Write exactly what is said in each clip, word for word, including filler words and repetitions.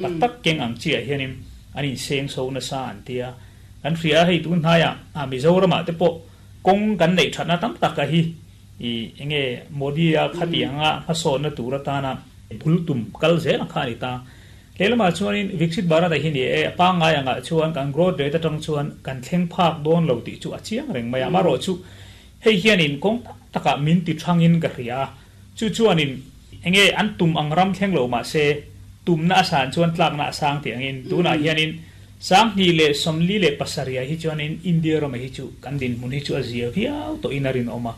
Tak tak keng ang chi ah hianin an in seng so na sa an tia kan hria hei tun hnaia a Mizoram ah te pawh kawng kan neih thatna tam tak a hi i enge Modi a khati anga hmasawn na tur atana bul tum kal zel ang kha ani ta. Lehlamah chuanin Viksit Bharat a hi ni e, a pangngai angah chuan kan growth rate atang chuan kan thleng phak dawn lo tih chu a chiang reng mai a. Amaherawhchu hei hianin kawng tam takah min ti thangin ka hria a, chu chuanin enge an tum ang ram thleng lo mahse tumna a san chuan tlakna a sang tih angin tunah hianin Sanghnih leh sawmli leh pasarih hi chuanin India ram hi chu kan dinhmun hi chu a zia viau tawhin a rinawm a.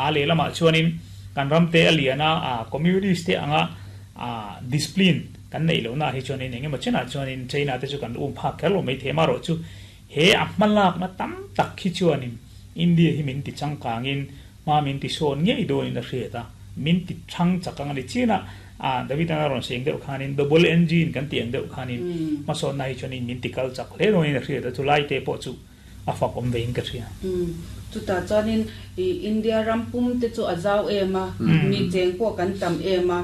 A lehlamah chuanin kan ramte a lian a, a communist te anga a discipline kan neih lohna hi chuanin engemaw chenah chuanin China te chu kan um phak kher lo mai thei. Amaherawhchu he a hmalakna tam tak hi chuanin India hi min ti changkangin hma min ti sawn ngei dawnin a hriat a, min ti thang chak ang a ni. Chinah a David an a rawn seng deuh khanin double engine kan tih ang deuh khanin hmasawnna hi chuanin min ti kal chak hle dawnin a hriat a, chulai te pawh chu a fak awm vein ka hria. Chutah chuanin i India ram pum te chu a zau em a, mi cheng pawh kan tam em a,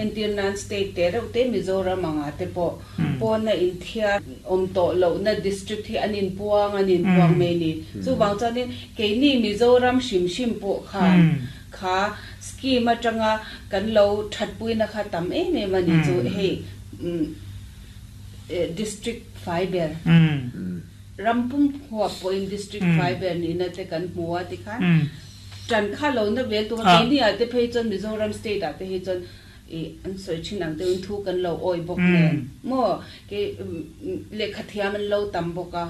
entir nan state te reuh te Mizoram anga te pawh pawna inthiar awm tawh lohna district hi an inpuang an inpuang mai ni. Chuvang chuanin keini Mizoram hrim hrim pawh khan kha scheme atanga kan lo thatpuina kha tam em em a ni chu hei district fai ber ram pum huap pawhin district fai ber nihna te kan hmu a tikhan tan kha lo na vel tura keini ah te phei chuan Mizoram state ah te hi chuan i an sawi thin ang deuhin thu kan lo awi bawk nen maw kei lehkha thiam an lo tam bawk a,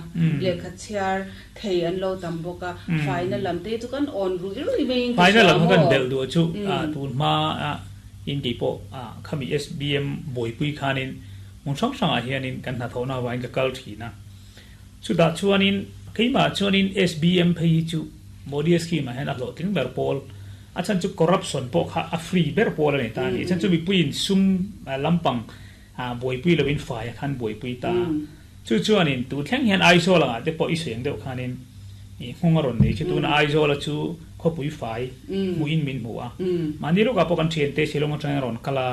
lehkha chhiar thei an lo tam bawk a, faina lam te chu kan awn rui rui maiin ka Faina hria lam kha kan maw. Belh duh chu tun hma in kei pawh khami S B M buaipui khanin hmun hrang hrangah hianin kan hnathawhna avangin ka kal thin a, chutah chuanin keimah chuanin S B M phei hi chu Modi scheme ah hian a hlawhtling ber pawl a chan chu corruption pawh kha a free ber pawl a ni ta a ni. Chan chu mipuiin sum lampang buaipui loin fai a khan buaipui ta. Chu chuanin tu thleng hian Aizawl angah te pawh i sawi ang deuh khanin i nghawng a rawn nei chu tuna Aizawl a chu khawpui fai hmuhin min hmu a. Mahni lawkah pawh kan thiante Shillong atangin a rawn kal a,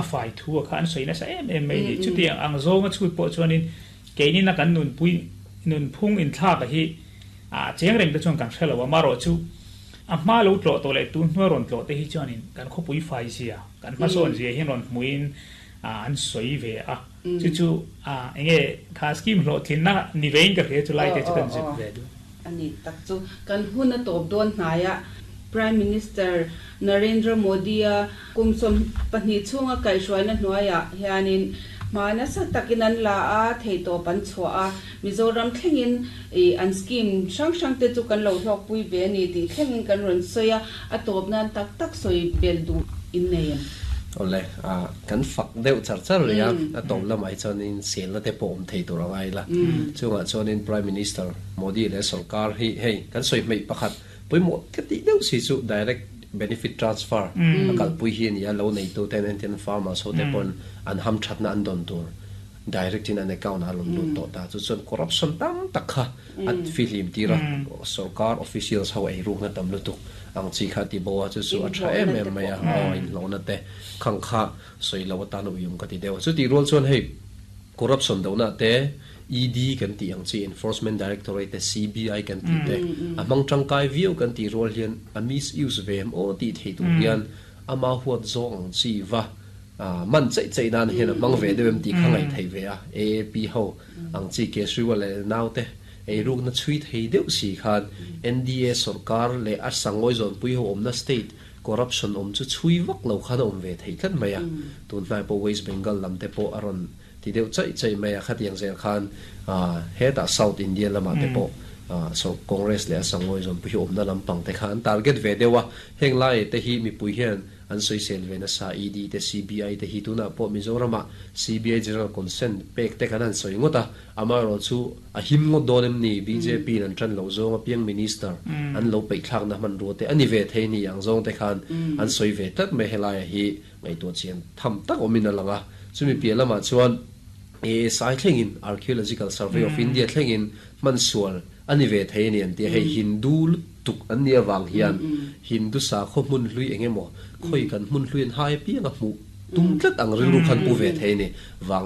a fai thu a kha an sawi nasa em em mai a ni. Chutiang ang zawnga chhut pawh chuanin keinina kan nunpui nunphung inthlak a hi a cheng reng te chuan kan hre lo a. Amaherawhchu a hma lo tlawh tawh leh tun hnuai rawn tlawh te hi chuanin kan khawpui fai zia, kan hmasawn zia hian rawn hmuhin an sawi ve a. Chu chu enge kha scheme hlawhtlinna ni vein ka hria chu lai te chu kan zep ve duh. A ni tak chu kan hun a tawp dawn hnaia Prime Minister Narendra Modi-a kum sawm pahnih chhunga kaihhruaina hnuaiah hianin hma nasa takin an la a, theihtawp an chhuah a, Mizoram thlengin ih an scheme hrang hrang te chu kan lo hlawkpui ve a ni tih thlengin kan rawn sawi a, a tawp nan tak tak sawi bel duh in nei em? Awle, a kan fak deuh char char rih a, a tawp lamah hi chuanin selna te pawh awm thei tur a ngai la. Chungah chuanin Prime Minister Modi leh sorkar hi hei kan sawi hmeih pakhat pawimawh ka tih deuh si chu direct benefit transfer a kalpui hi a ni a, lo neitu ten entirna farmers ho te pawn an hamthatna an dawn tur direct in an account ah a rawn lut tawh ta. Chu chuan corruption tam tak kha a fihlim tir a, sorkar officials ho ei rukna tam lutuk ang chi kha a ti bo a, chu chu a tha em em mai a, aw inhlawhna te khang kha sawi lo atan uiawm ka ti deuh a. Chutih rual chuan hei corruption dohna te E D kan tih ang chi Enforcement Directorate te C B I kan tih te a hmang tangkai viau kan tih rual hian a misuse ve em aw tih thei tur hian ama huat zawng ang chi va man chaih chaih nan hian a hmang ve deuh em tih kha ngaih theih ve a. A A P ho ang chi Kejriwal leh naute eirukna chhui thei deuh si khan N D A sorkar leh a sangawi zawnpui ho awmna state corruption awm chu chhui vak lo khan a awm ve thei tlat mai a. Tunhnai pawh West Bengal lam te pawh a rawn ti deuh chaih chaih mai a, khatiang zel khan hetah South India lamah te pawh so Congress leh a sangawi zawnpui hi awmna lampang te kha an target ve deuh a. Heng lai te hi mipui hian an sawisel ve nasa, E D te C B I te hi tunah pawh Mizoramah C B I General Consent pek te kan han sawi ngawt a, amaherawh chu a him ngawt dawn em ni? B J P in an tan loh zawng apiang Minister an lo peihthlakna hmanrua te a ni ve thei ni ang zawng te khan an sawi ve tlat mai. Helaia hi ngaihtuah chian tham tak awmin a lang a, chumi piah lamah chuan A S I thlengin Archaeological Survey of India thlengin hmansual a ni ve thei a ni an ti a, hei Hindu lutuk an nih avang hian Hindu sakhaw hmun hlui eng emaw khawi kan hmun hlui an hai apiang a hmuh Tum tlat ang rilru khan pu ve thei ni wang.